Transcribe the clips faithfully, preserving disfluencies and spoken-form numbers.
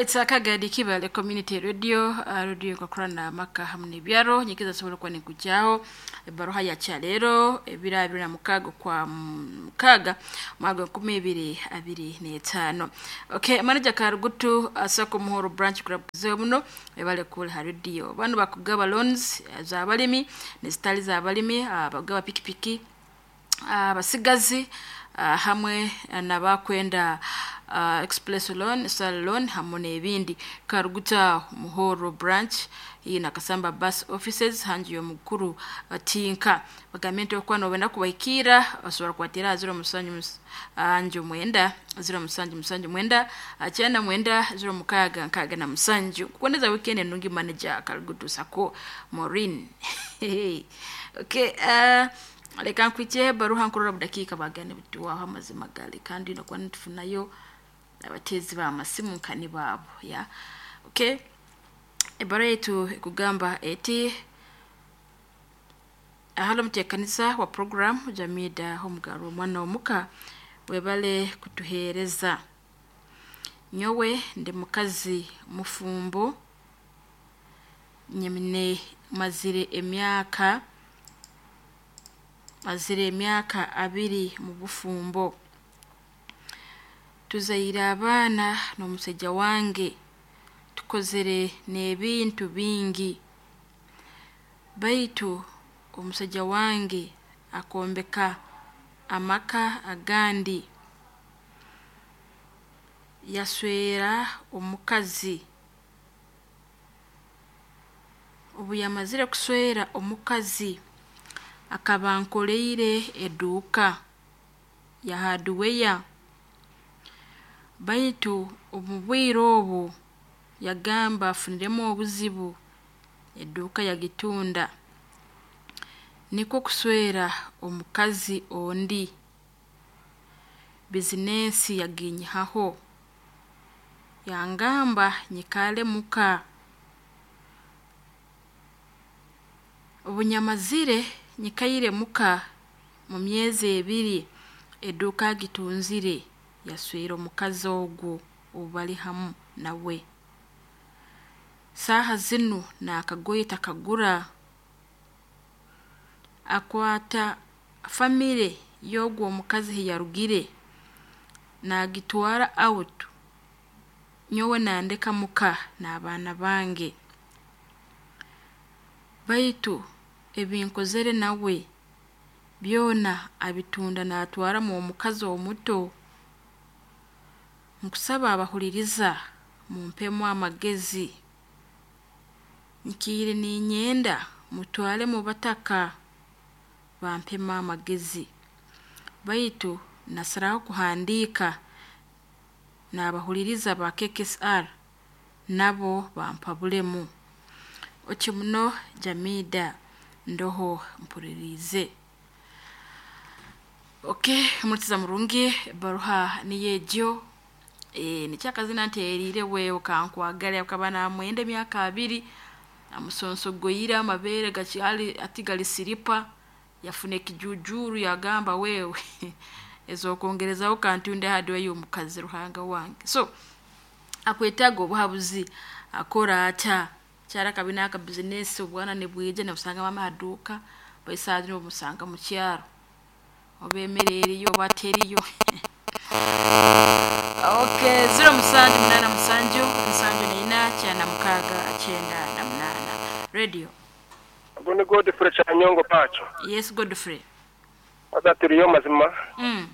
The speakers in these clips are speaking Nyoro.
Alright, akagadi Kibale Community Radio, uh, radio ikakurana maka hamwe n'ebyaro nyikiza sobola kuba nikujyaho ebaruha ya kyalero ebiro abiri na mukaaga kwa mukaaga mwaka nkumi ibiri abiri n'etaano. Okay, manager Karugutu asako Muhoro branch club muno ebale kule ha radio. Bano bakugaba loans z'abalimi n'ezitali z'abalimi, abagaba pikipiki, abasigazi uh, hamwe n'abakwenda uh, express loan, sal loan hamwe n'ebindi. Karuguta Muhoro branch iyi na Kasamba bus offices hangi y'omukuru uh, Tinka bagambye nti okuba nobenda kubahikira osobola kubatera zero musanju anju mwenda zero musanju musanju mwenda kyenda mwenda zero mukaaga nkaaga na musanju. Kukwendeza weekend enungi manager Karugutu Sako Maureen. Okay, uh, reka nkwikiye baruha nkurora budakiika bagane butuwaho amazima gali kandi nokuba nitufunayo abateezi b'amasimu nkani baabo ya okay. Ebara yetu ekugamba eti ahalo muteekanisa wa program Jamida Homugaro omwana omuka webale kutuheereza. Nyowe ndi mukazi mufumbo, nyemine mazire emyaka mazire emyaka abiri mu bufumbo. Tuzaire abaana n'omusajja wange, tukozere n'ebintu bingi, baitu omusajja wange akombeka amaka agandi, yaswera omukazi. Obu yamazire kuswera omukazi akaba ankoleire eduuka ya hardware, baitu omu bwire obu yagamba afuniremu obuzibu eduuka yagitunda, nikwo kuswera omukazi ondi, bizinensi yaginyihaho, yangamba nyikale muka. Obu nyamazire nyikaire muka mu myezi ebiri eduuka agitunzire yaswera omukazi ogu obu bali hamu nawe. Saaha zinu n'akagoye takagura, akwata famire y'ogu omukazi hiyarugire naagitwara out, nyowe nandeka muka n'abaana bange. Baitu ebinkozere nawe byona abitunda naatwaramu omukazi omuto. Nkusaba abahuliriza mumpemu amagezi, nkiire niinyenda mutware mu bataka bampemu amagezi, baitu nasaraho kuhandiika n'abahuliriza ba K K S R nabo bampabulemu. Oti muno Jamida ndoho mpuliriize. Okay, omurikiza murungi ebaruha niyo egyo. E, nikyakazina nteeriire wewe kankwagala akaba namwenda emyaka abiri amusonsogoyire amabeere gakyali ati gali siripa yafuna ekijujuru yagamba wewe ezokwongerezaho kantunde hardware y'omukazi Ruhanga wange. So akwetaaga obuhabuzi akora ata kyara kabina aka bizinesi obwana nibwija nabusanga mama haduuka baisaadi omusanga mu kyaro oba emmere eriyo oba teriyo. Okay, zero musanju munana musanju nsanju neina kyana mukaaga kyenda na munana. Radio. Ogwo ni Godfrey Kyanyongo Pacho. Yes, Godfrey. Aza turiyo mazima. Mm.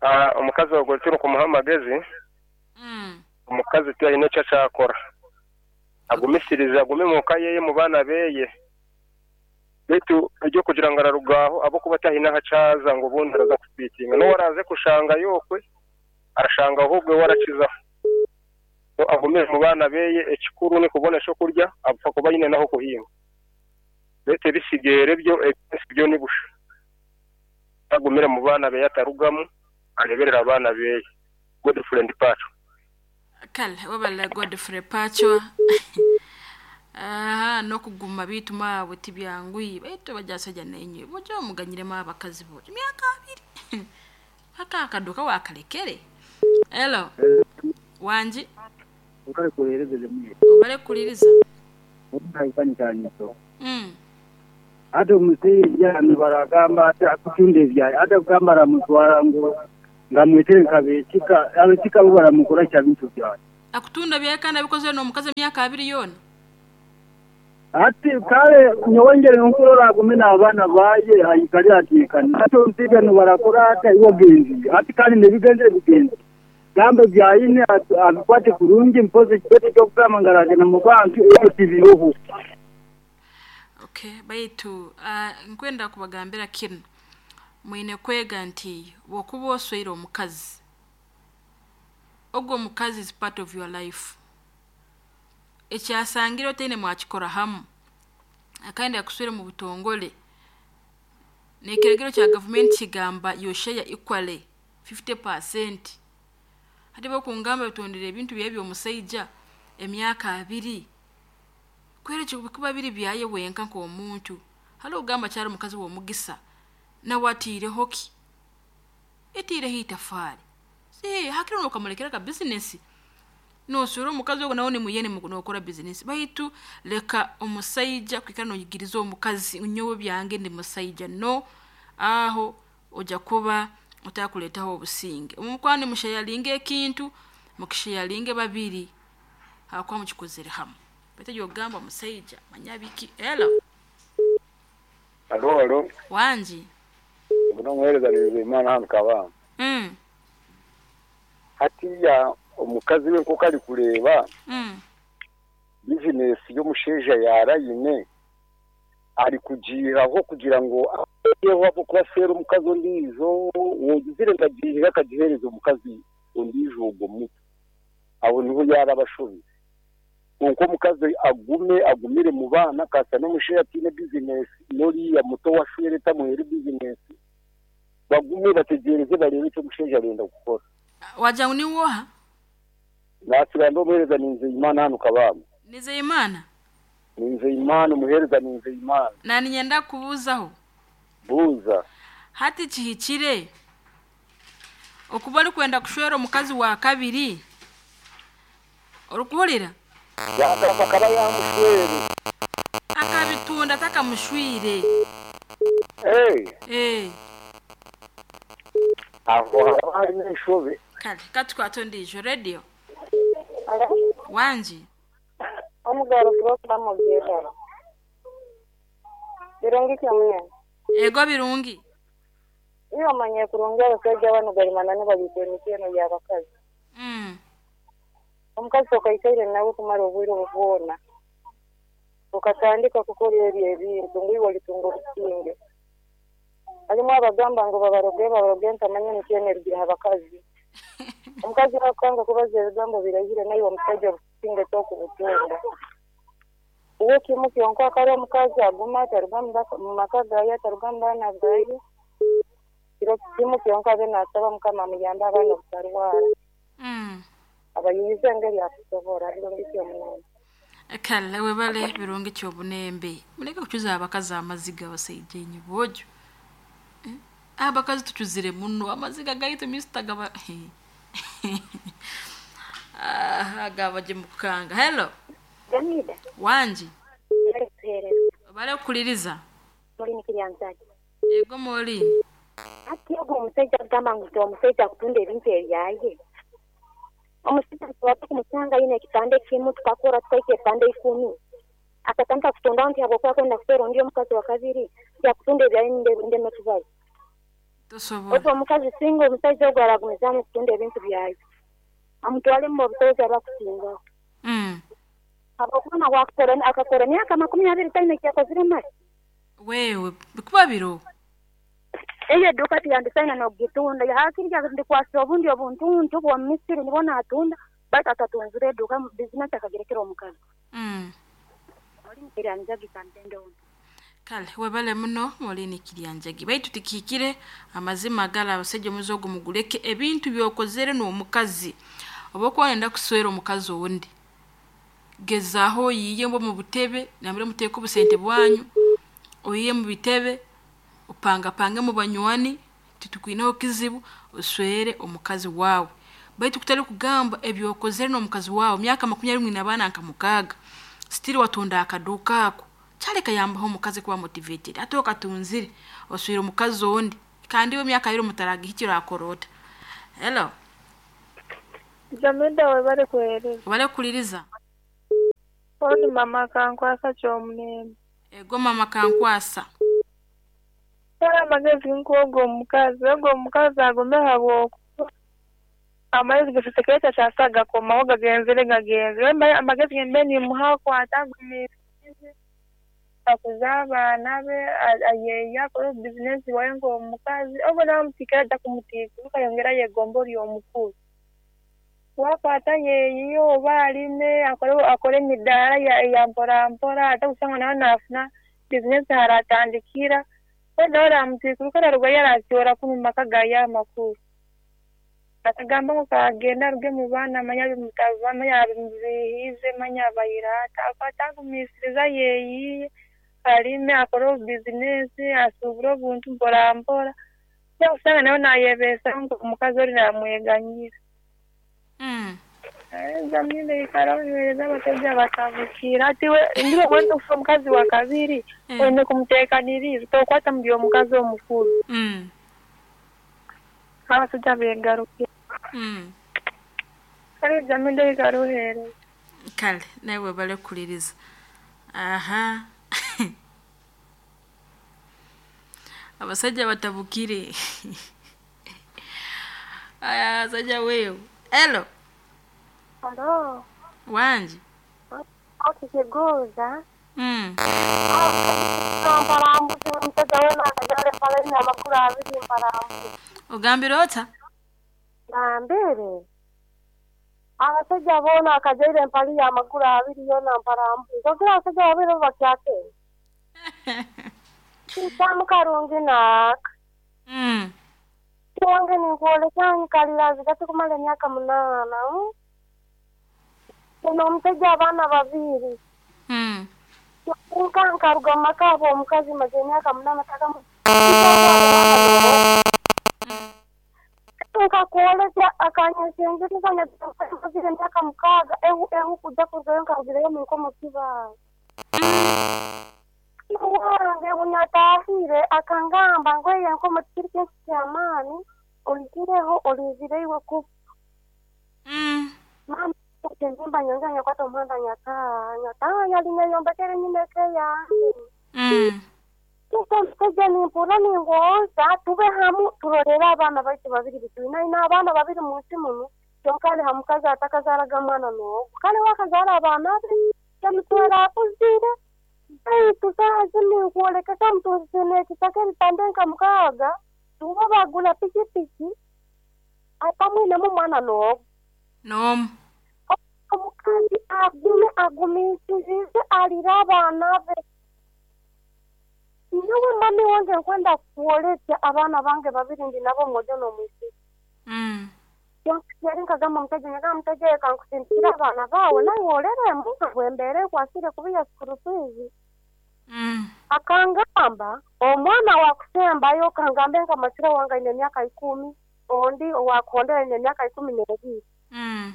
Ah, omukazi ogwo turi kumuha amagezi. Mm. Omukazi tiyalina ekyo akyakora. Agumisirize agume mu ka yeye mu baana beye. Baitu ebyokugira ngu ararugaho abokuba atahine aho akyaza ngu obundi araza kufiitinga. N'owu araaze kushanga yokwe arashanga ahubwo we arakizaho. So agumire mu baana beye ekikuru ni kubona ekyokurya apfa kuba ayine n'aho kuhinga. Baitu ebisigaire byo ebinsi byo ni busha. Agumire mu baana beye atarugamu areberera abaana beye. Godfrey Pacho. Kale wabala Godfrey Pacho. Aha n'okuguma biitu maabwe tibyanguhi baitu bajasajja nenywe bojo omuganyiremu abakazi bo emyaka abiri aka akaduka wakalekere. Hello. Wangi. Ukale kuhereza jamii. Obale kuliriza. Haifanyikaniso. Mm. Hata omusajja nibaragamba ati akutunda ebyayi ate kugamba aramutwara ngo ngamwetere nkabekika abekika bo baramukora kya bintu byaye. Akutunda byaye kandi abikoze n'omukazi emyaka abiri yona. Ati kale nyowengere nkurora agume n'abaana baye ayikali atekana. Ate omusajja nibarakora ati iwe genzi ati kandi nebigenze bigenzi. Gambe byayine abikwate kurungi mpoze kibete kyokugamba ngaragenda mu bantu ebyo tibiroho. Okay, baitu uh, nkwenda kubagambira kinu mwine kwega nti bwokuba osweire omukazi ogwo omukazi is part of your life. Ekyasangire otaine mwakikora hamu akandi akuswire mu butongole n'ekiragiro kya gavumenti kigamba your share equally fifty percent. Hati bokungamba bitondere ebintu byebyo omusaija emyaka abiri kwere kikuba biri byaye wenka nk'omuntu hali ogamba kyali omukazi w'omugisa nawe atiireho ki etiireho itafaali si hakiri nokamulekera ka bizinesi nosura omukazi ogwo nawe nimuyene nokora bizinesi baitu leka omusaija kwikara noyigiriza omukazi nyowe byange ndi musaija no aho ojja kuba otakuletaho obusinge. Omukwano mushayalinge ekintu mukishayalinge babiri hakuba mukikozere hamu. Bete yogamba musaija manyabiki. Hello. Alo alo. Wanji. Buno mwereza Imana hano kabamba. Mm. Hatiya omukazi we nko kali kureba. Mm. Business y'omusheja yarayine ari kugiraho kugira ngo yeho abo kubasera omukazi ondijo wogizire ngagihira akagihereza omukazi ondijo ogwo muto abo niho yarabashobi konko omukazi agume agumire mu bana kasa n'omusheja atine business noriya muto washwere tamuhere business bagume bategereze barebe icyo omusheja arenda gukora. Waja ni woha nasira ndo muhereza Nizeyimana hano kabamba. Nizeyimana Nizeyimana umuhereza Nizeyimana na ninyenda kubuzaho buza hati kihikire okuba ori kwenda kushwera omukazi wa kabiri orikuhurira yakaba yamushwere akabitunda takamushwire. Eh eh aho hari n'ishobe kale katukwatondijo radio. Wanji omugaro kuba mubyera birungi kyamwe ego birungi iyo manye kurungi abasajja bano galimana ne babitwe mikeno y'abakazi. Mm. Omukazi okaikaire nawe kumara obwire obwona okatandika kukora ebyo ebintu ngu walitunga obusinge alimu abagamba ngo babaroge babaroge ntamanya mikeno erugira abakazi. Omukazi akanga kubaza ebigambo birahire naye omusajja obusinge tokubutunga uwo kimu kyonka akari omukazi aguma ataruga mu maka gaye ataruga mu baana gaye kiro kimu kyonka abe nasaba Mukama amuyambe abaana obutarwara. Mm. Abayize engeri akusobora birungi ky'omunene. Kale webale birungi ky'obunembe muleke kucuza abakazi amaziga abasajja enyi bojo. Eh? Abakazi tucuzire muno amaziga gaitu mister gaba ah agaba je mukanga. Hello. Jamida. Wanji. Bale Bale kuliriza. Muri nikiryanzaje. Ego moli. Ati ogwo omusajja agamba ngu omusajja akutunda ebintu ebyaye. Omusajja tuwatu kumusanga yine ekipande kimu tukakora tukaika ebipande ikumi. Akatandika kutunda nti habwokuba kwenda kusera ondi omukazi wa kabiri yakutunda ebyaye ndeme tubazo. Tosobola. Ogwo omukazi singa omusajja ogwo aragumizaamu kutunda ebintu byaye. Amutwale mu busobozi abakusingaho. Mm. Habwokuba wakukora akakora emyaka makumi abiri taine ekyakozire mali. Wewe bikuba biro. Eyo eduka tiyandisaina n'okugitunda hakiri ndikwasa obundi obuntuntu bwa Misiri nibwo natunda baitu atatunzire eduka bizinesi akagirekera omukazi. Mm. Oli nikiryanjagi kantende ono. Kale webale muno moli nikiryanjagi baitu tikikire amazima gala abasajja muzogo muguleke ebintu byokozere n'omukazi oba kwenda kuswera omukazi owundi gezaho yiye mbo mu butebe namire muteko obusente bwanyu oyiye mu bitebe upanga pange mu banywani titukwinaho kizibu oswere omukazi wawe. Baitu kutali kugamba ebyokozere n'omukazi wawe myaka makumi abiri mwine abaana nka mukaaga, still watunda akaduuka ako. Kyali kayambaho omukazi kuba motivated. Ate okatunzire oswire omukazi ondi kandi iwe emyaka yiro mutaragihikire akora ota. Hello. Jamida webale kuhereza. Webale kukuliriza. Oni mama kankwasa ky'omulembe. Ego mama kankwasa. Kale amagezi nk'ogo omukazi, ogo omukazi agume habwokuba amagezi gasisekere takyasa gakomaho gagenzere gagenzere. Amagezi gembe nimuha akwate agumiisirize, akuze abaana be, ayeeye akore bizinesi waye nk'omukazi, ogu namutikira ajja kumutiikuruka ayongere ayegombe ori omukuru. Wakwata yeeyiye oba alime akore akore emidaara eya mpora mpora ate kusanga nawe naafuna bizinesi haratandikira, we nawe oramutiikuruka ararugayo aratyora kunu mumaka gaye amakuru. Atagamba ngu kagende aruge mu baana manya manya abimubiihize manya abaire ata, akwate agumiisirize ayeeyiye alime akore obubizinesi asuubure obuntu mpora mpora, kusanga nawe nayebeesaho nk'omukazi ori namweganyira. Mm. Jamile ikara onywereza abasajja batabukira ati we ndiro wenda kufa omukazi wa kabiri Mm. oyine kumuteekaniriza tokwata mu by'omukazi omukuru. Mm. Abasajja beegarukira. Mm. Kale Jamile ikara ohereza. Kale nawe webale kukuliriza. Aha. Abasajja batabukire. Aya abasajja wewe. Hello. Halo, Wanji. okikuguza Mm. mparambuzi omusajja weena akajale mpalaine amakuru abiri mparambuzi Ogambire ota? Gambire abasajja boona akajaire empali y'amakuru abiri yoona mparambuzi ogira abasajja babiri bakyate kitamu karungi naaka Mm. wange ninkwoleka nkalira zigati kumara emyaka munaana mm? Ono omusajja abaana babiri Mm. nka nkaruga mu maka abo omukazi maze emyaka munaana takamu nkakwoleka akanyesengeriza mazire emyaka mukaaga ehu ehu kujja kurugayo nkarugireyo mu nkomo kibaara wange bunyatahire akangamba ngu eyo enkomo tikiri kintu ky'amaani oigireho olinzire iwe kufa. Mm. Mama enzimba nyonge nyakwata omuhanda nyataaha nyataaha yali neyombekere nyine eka yange. Mm. Kisa omusajja nimpurra ningonza tube hamu turorere abaana baitu babiri bitwine aine abaana babiri mu nsi munu kyonka ali ha mukazi atakazaaraga mwana n'ogu kale we akazaara abaana be kyamutwera akuzire baitu saaha zinu ninkwoleka kamutunzire ekitaka ebipande nka mukaaga tuba bagula pikipiki atamwinemu mwana n'ogu. N'omu. Omukazi agume agumiisirize alire abaana be. Nyowe mami wange nkwenda kuolesya abaana bange babiri ndi nabo mwojo n'omwisiki. Mm. Yari nkagamba omusajja nyagamba omusajja oyo kankusindikire abaana baawe nawe oreremu bwembeera ekwasire kubiya school fees. Mm. Akangamba omwana wakusembayo kangambe nka machira wange aine emyaka ikumi ondi owakondera aine emyaka ikumi n'ebiri. Mm.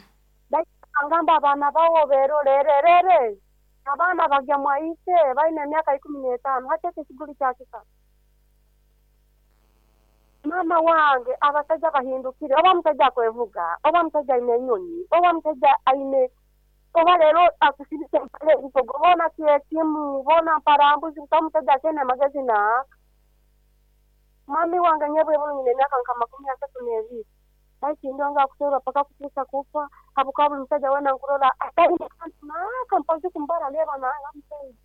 Akangamba abaana bawo berorererere abaana bagya mwaise baine emyaka ikumi n'etaano hati eki ekiguri kyakika. Mama wange abasajja bahindukire oba omusajja akwevuga oba omusajja aine enyonyi oba omusajja aine oba leero akusibisa empale ebikogo boona kyekimu boona mparambuzi buta omusajja akyene amagezi naaka. Mami wange nyebwe nyine emyaka nka makumi asatu n'ebiri baikindonga akuterwa paka kutuusa kufa habwokuba buli musajja weena nkurora ataine kantu naaka mpozi kumbara reeba nanga musajja.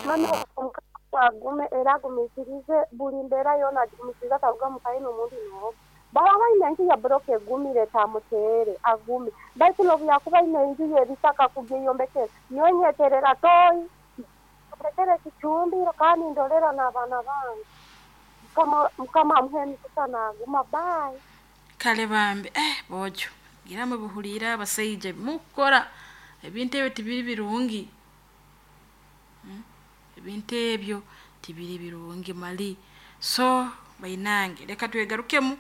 Mami omukazi agume era agumiisirize buli mbeera yoona agigumiisirize ataruga mu kaye n'omundi n'ogu. Baba baine enju ya buroka egumire tamuteere agume baitu n'obu yakuba aine enju y'ebisaka kugyeyombekera nyowe nyeterera toyi yombekere ekicumbiro kandi ndolera n'abaana bange. Mukama Mukama amuhe emikisa naaguma bye. Kale bambi eh bojo gira mubuhulira abasaija mukukora ebintu ebyo tibiri birungi. Mm. Ebintu ebyo tibiri birungi mali. So bainange leka twegarukemu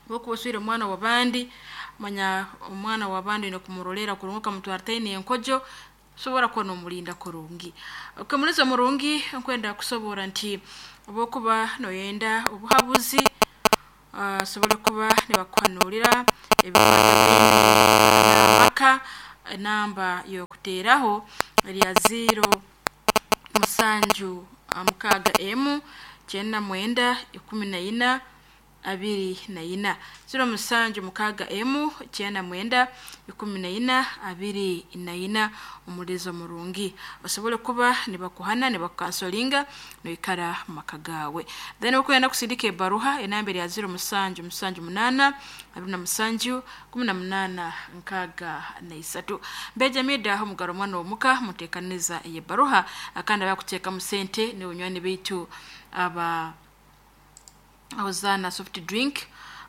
Bokuba oswire omwana w'abandi, manya omwana w'abandi oine kumurolera kurungi okamutwara taine enkojo, sobora kuba nomulinda kurungi. Okamuliza murungi nkwenda kusobora nti obokuba noyenda obuhabuzi, uh, sobora kuba nibakuhanurira ebikwatagaine n'amaka. Enamba y'okuteeraho erya zero musanju mukaaga emu kyenda mwenda ikumi na ina abiri na ina, zero musanju mukaaga emu kyenda mwenda ikumi na ina abiri na ina. Omulizo murungi osobole kuba nibakuhana nibakukansolinga noikara mu maka gaawe. Then okwenda kusindika ebaruha, enamba erya zero musanju musanju munaana abiri na musanju kumi na munaana nkaaga na isatu. Mbeja mida omugaro omwana omuka muteekaniza eyebaruha, akandi abakuteekamu sente ni bunywani baitu aba Hozana soft drink,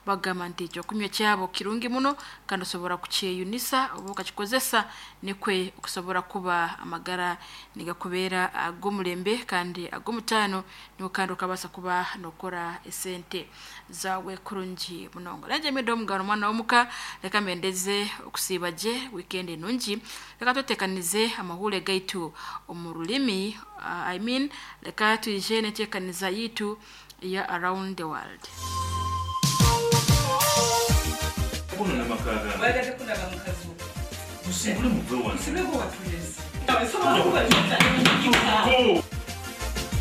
bagamba nti ekyokunywa kyabo kirungi muno kandi osobora kukyeyunisa oba okakikozesa nikwe okusobora kuba amagara nigakubeera ag'omulembe kandi ag'omutaano, niwe kandi okabaasa kuba nokora esente zaawe kurungi munonga. Naje mida omugaro omwana w'omuka, reka mbendeze okusiiba gye weekend enungi. Reka twetekanize amahure gaitu omu rulimi, uh, I mean reka twije n'enteekaniza yitu ya around the world. Kuno namakaga. Wayagadde kulaba mukazi wo. Musibule muve wano. Musibule gwe watulese. Go.